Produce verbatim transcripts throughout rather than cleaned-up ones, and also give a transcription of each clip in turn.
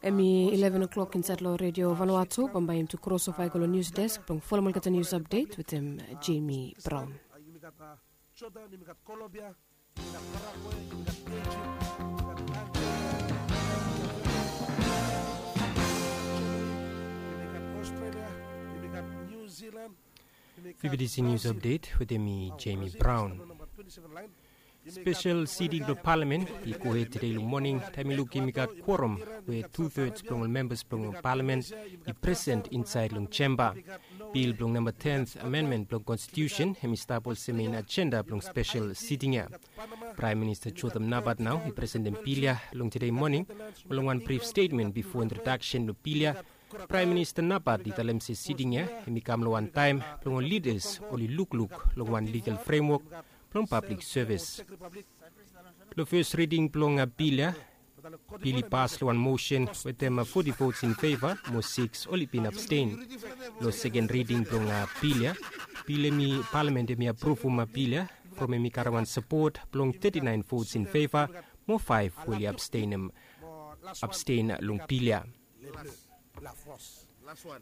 Em i eleven o'clock insaed long redio Vanuatu. Bambae yumi tu kros ofa i go long nius desk blong folem olgeta nius apdet wetem Jemi Braon. Fifti nius apdet wetem mi, Jemi Braon. Spesel siting blong palamen i gohed tede long moning taem i lukim i gat kuorom we tu-teds blong ol membas blong palamen i presen insaed long jemba. Bil blong namba ten amendmen blong konstitiusen hem i stap olsem mein ajenda blong spesel siting ya. Praem Minista Jotham Napat nao i presentem bil ya long tede moning. Mo long wan brif stetmen bifo introdaksen blong bil ya, Praem Minista Napat i talem se siting ya hem i kam long wan taem blong ol lidas oli lukluk long wan ligal fremwok blong pablik sevis. Long fes riding blong bil ya, bil i pas long wan mosen wetem foti vots in feva mo siks oli bin absten. Long seken riding blong bil ya, bil hem i palamen hem i apruvum bil ya from hem i karem wan sapot blong teti naen vots in feva mo faef we oli absten long bil ya.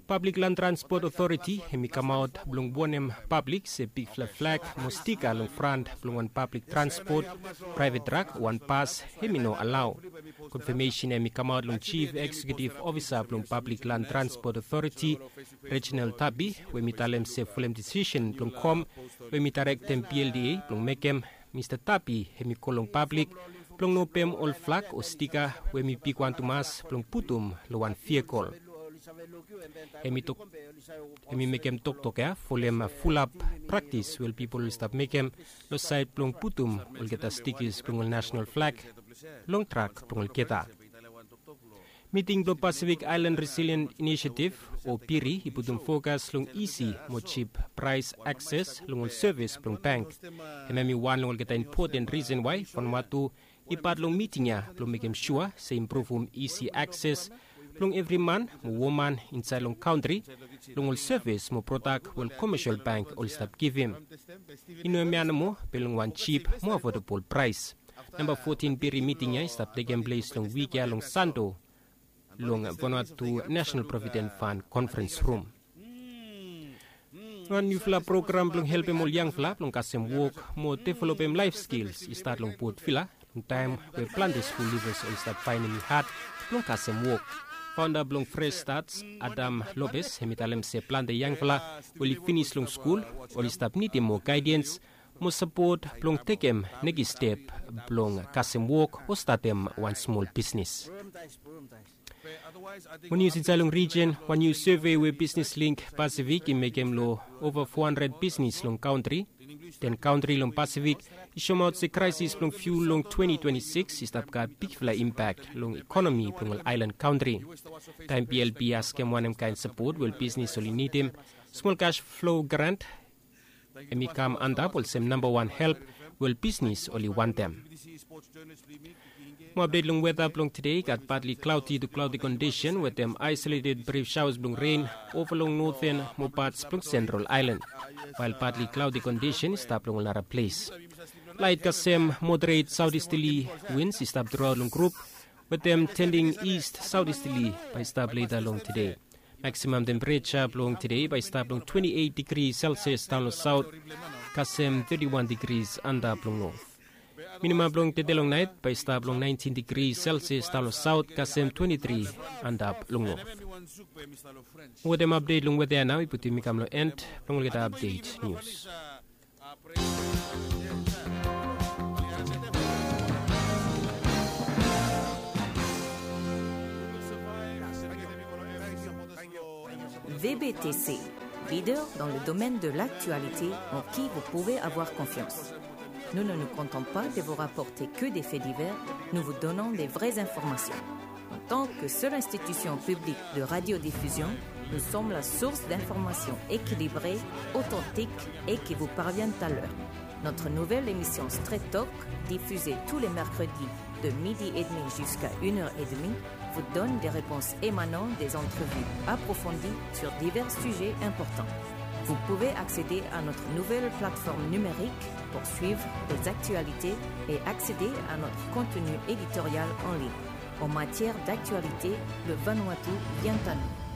Pablik Lan Transpot Otoriti hem i kamaot blong wonem pablik se bigfala flag mo stika long fran blong wan pablik transpot, praevet trak o wan bas hem i no alao. Konfamesen hem i kamaot long Jif Eksekiutiv Ofisa blong Pablik Lan Transpot Otoriti, Reginald Tapi, we hem i talem se folem disisen blong kom we hem i daerektem P L D A blong mekem, Mista Tapi hem i kol long pablik blong no pem ol flag o stika we hem i bigwan tumas blong putum long wan vihikol. Hem i tok, hem i mekem toktok ya folem fulap praktis we ol pipol oli stap mekem long saed blong putum olgeta stikis blong ol nasenal flag long trak blong olgeta. Miting blong Pasifik Aelan Resilient Inisiativ o PIRI i putum fokas long isi mo jip praes akses long ol sevis blong bank. Hemia hem i wan long olgeta impoten risen wae Vanuatu i pat long miting ya blong mekem sua se i impruvum isi akses blong evri man mo woman insaed long kantri long ol sevis mo prodak we ol komesel bank oli stap givim. I no hemia nomo be long wan jip mo afodabol praes. Namba fotin PIRI miting ya i stap tekem ples long wik ya long Sando long Vanuatu Nasenal Provident Fan Konferens Rum. Wan niufala program blong helpem ol yangfala blong kasem wok mo developem laef skils i stat long Port Vila long taem we plante skul livas oli stap faenem i had blong kasem wok. Faonda blong Fresh Starts, Adam Lopez, hem i talem se plante yangfala we oli finis long skul oli stap nidim moa gaedens mo sapot blong tekem nekis step blong kasem wok o statem wan smol bisnis. Mo nius insaed long rijen, wan niu seve we Bisnis Link Pasifik i mekem long ova fo handred bisnis long kantri, ten kantri long Pasifik, i soemaot se kraesis blong fiul long twenti twenti sikis i stap gat bigfala impak long ekonomi blong ol aelan kantri. Taem BLP i askem wanem kaen sapot we ol bisnis oli nidim, smol kas flo grant hem i kam antap olsem namba wan help we ol bisnis oli wantem. Mo apdet long weta blong tede, i gat patli klaodi tu klaodi kondisen wetem aesoleted brif saoas blong ren ova long noten mo pats blong sentral aelan, wael patli klaodi kondisen i stap long ol nara ples. Laet kasem moderet saotistali wins i stap truaot long grup wetem tending ist saotistali bae i stap leta long tede. Maksimam tempereja blong tede bae i stap long twenti eit digri selsias daon long saot kasem teti wan digri antap long not. Minimam blong tede long naet bae i stap long naentin digri selsias daon long saot kasem twenti tri antap long not. Wetem apdet long weta ya nao i putum mi kam long en blong olgeta apdet nius. VBTC, leader dans le domaine de l'actualité en qui vous pouvez avoir confiance. Nous ne nous contentons pas de vous rapporter que des faits divers, nous vous donnons des vraies informations. En tant que seule institution publique de radiodiffusion, nous sommes la source d'informations équilibrées, authentiques et qui vous parviennent à l'heure. Notre nouvelle émission Straight Talk, diffusée tous les mercredis de midi et demi jusqu'à une heure et demie, vous donne des réponses émanant des entrevues approfondies sur divers sujets importants. Vous pouvez accéder à notre nouvelle plateforme numérique pour suivre les actualités et accéder à notre contenu éditorial en ligne. en matière d'actualité lo Vanuatu yantanon.